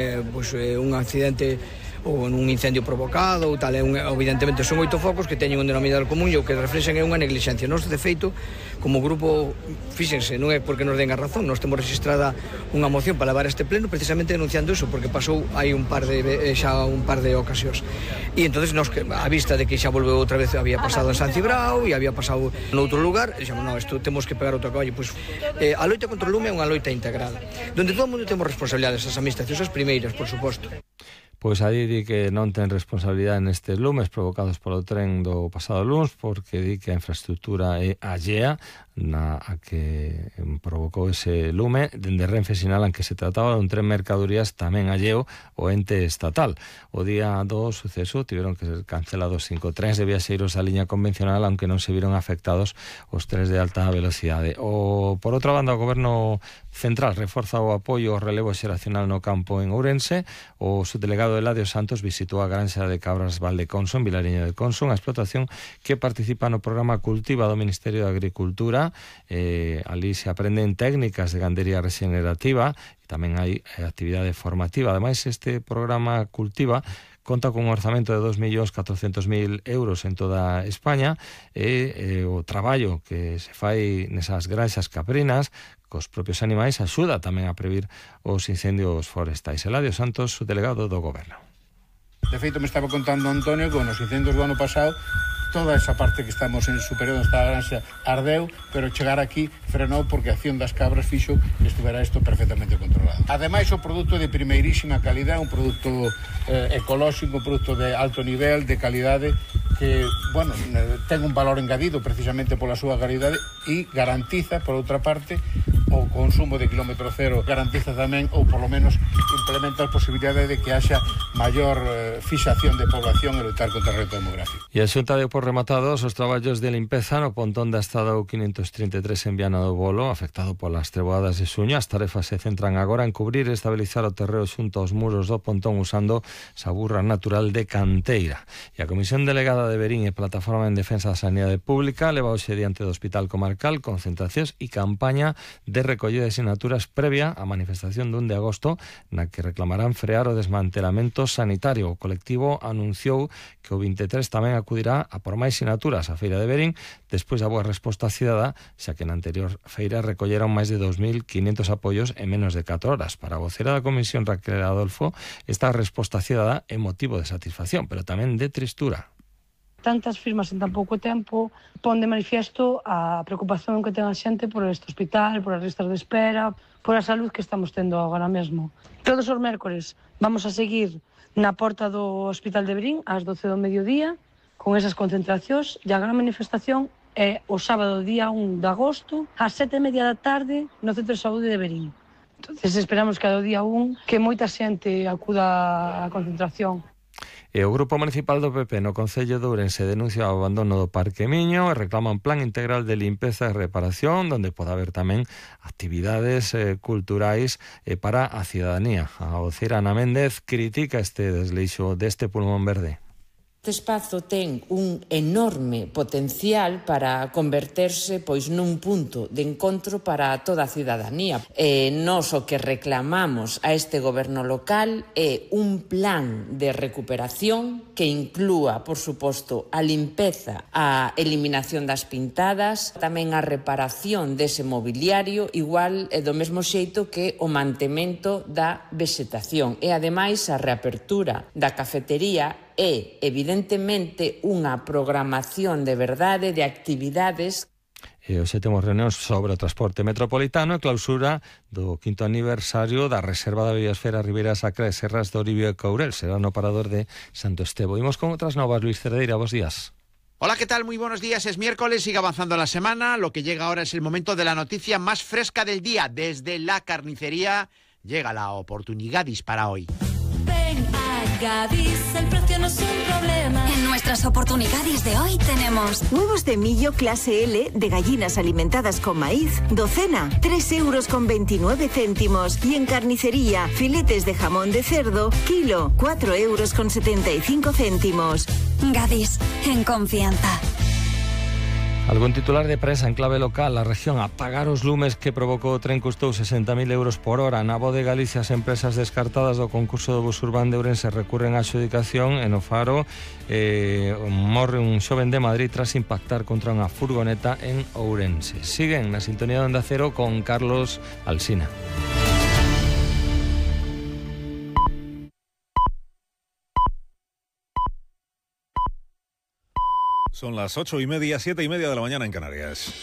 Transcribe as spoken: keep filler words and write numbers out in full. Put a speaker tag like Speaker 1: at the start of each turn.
Speaker 1: Eh, pois eh, un accidente ou un incendio provocado ou tal, é un, evidentemente son oito focos que teñen un denominador común e o que reflexan é unha neglixencia. Nós, de feito, como grupo, fíxense, non é porque nos den a razón, nós temos registrada unha moción para levar a este pleno precisamente denunciando iso, porque pasou hai un par de xa un par de ocasións. E entonces nós, a vista de que xa volveu outra vez, había pasado en San Cibrao e había pasado noutro lugar, dixemos, non, isto temos que pegar outro caballo. Pois eh, a loita contra o lume é unha loita integrada, donde todo o mundo temos responsabilidades, as administracións as primeiras, por suposto.
Speaker 2: Pois aí di que non ten responsabilidade nestes lumes provocados polo tren do pasado luns, porque di que a infraestructura é allea na a que provocou ese lume. Dende Renfe sinalan que se trataba dun tren mercadorías tamén alleo o ente estatal. O día do suceso tiveron que ser cancelados cinco trens de viaxeiros da liña convencional, aunque non se viron afectados os trens de alta velocidade. O, por outra banda, o Goberno Central reforza o apoio ao relevo xeracional no campo en Ourense. O subdelegado Eladio Santos visitou a granxa de cabras Valdeconso en Vilariño de Conso, unha explotación que participa no programa Cultiva do Ministerio de Agricultura. Eh, ali se aprenden técnicas de gandería regenerativa e tamén hai eh, actividade formativa. Ademais, este programa Cultiva conta con un orzamento de dos millóns catrocentos mil euros en toda España e eh, o traballo que se fai nesas granxas caprinas cos propios animais axuda tamén a previr os incendios forestais. Eladio Santos, o delegado do Goberno.
Speaker 3: De feito, me estaba contando Antonio que nos incendios do ano pasado toda esa parte que estamos en superior onde está a granxa ardeu, pero chegar aquí frenou porque a acción das cabras fixo que estuvera isto perfectamente controlado. Ademais, o produto de primeirísima calidad, un produto eh, ecolóxico, un produto de alto nivel, de calidade, que, bueno, ten un valor engadido precisamente pola súa calidade e garantiza, por outra parte, o consumo de kilómetro cero, garantiza tamén, ou polo menos implementa a posibilidade de que haxa maior eh, fixación de población e lutar contra o reto demográfico.
Speaker 2: E a Xunta deu por rematados os traballos de limpeza no pontón da Estrada quinientos trinta e tres en Viana do Bolo, afectado polas treboadas de xuño. As tarefas se centran agora en cubrir e estabilizar o terreo xunto aos muros do pontón usando saburra natural de canteira. E a Comisión Delegada de Verín e Plataforma en Defensa da Sanidade Pública leva hoxe diante do Hospital Comarcal concentracións e campaña de recollida de sinaturas previa á manifestación do un de agosto na que reclamarán frear o desmantelamento sanitario. O colectivo anunciou que o vinte e tres tamén acudirá a por máis sinaturas a Feira de Verín despois da boa resposta cidadá, xa que na anterior feira recolleron máis de dos mil quinhentos apoios en menos de catro horas. Para a vocera da Comisión, Raquel Adolfo, esta resposta cidadá é motivo de satisfacción, pero tamén de tristura.
Speaker 4: Tantas firmas en tan pouco tempo pon de manifiesto a preocupación que ten a xente por este hospital, por as listas de espera, por a salud que estamos tendo agora mesmo. Todos os mércores vamos a seguir na porta do Hospital de Verín ás doce do mediodía con esas concentracións e a gran manifestación é o sábado día un de agosto ás sete e media da tarde no Centro de Saúde de Verín. Entonces esperamos que ao día un que moita xente acuda á concentración.
Speaker 2: E o Grupo Municipal do P P no Concello de Ourense denuncia o abandono do Parque Miño e reclama un plan integral de limpeza e reparación onde pode haber tamén actividades eh, culturais eh, para a cidadanía. A vocera Ana Méndez critica este desleixo deste pulmón verde.
Speaker 5: Este espazo ten un enorme potencial para converterse pois nun punto de encontro para toda a cidadanía. E nós o que reclamamos a este goberno local é un plan de recuperación que inclúa, por suposto, a limpeza, a eliminación das pintadas, tamén a reparación dese mobiliario, igual e do mesmo xeito que o mantemento da vexetación. E, ademais, a reapertura da cafetería é, evidentemente, unha programación de verdade de actividades.
Speaker 2: E hoxe temos reunións sobre o transporte metropolitano e clausura do quinto aniversario da Reserva da Biosfera Ribeira Sacra de Serras do Oribio e Courel. Será no parador de Santo Estevo. Imos con outras novas. Luis Cerdeira, bos días.
Speaker 6: Hola, ¿qué tal? Muy buenos días. Es miércoles, sigue avanzando la semana. Lo que llega ahora es el momento de la noticia más fresca del día. Desde la carnicería llega la oportunidad para hoy.
Speaker 7: Ven a Gadis, el precio no es un problema.
Speaker 8: En nuestras oportunidades de hoy tenemos
Speaker 9: huevos de millo clase L de gallinas alimentadas con maíz, docena, tres euros con veintinueve céntimos. Y en carnicería, filetes de jamón de cerdo, kilo, cuatro euros con setenta y cinco céntimos.
Speaker 8: Gadis, en confianza.
Speaker 2: Algún titular de prensa en clave local, a región a pagar os lumes que provocou o tren custou sesenta mil euros por hora. Na Voz de Galicia, as empresas descartadas do concurso do bus urbán de Ourense recurren á adxudicación e no Faro eh, morre un xoven de Madrid tras impactar contra unha furgoneta en Ourense. Siguen na sintonía de Onda Cero con Carlos Alsina.
Speaker 10: Son las ocho y media, siete y media de la mañana en Canarias.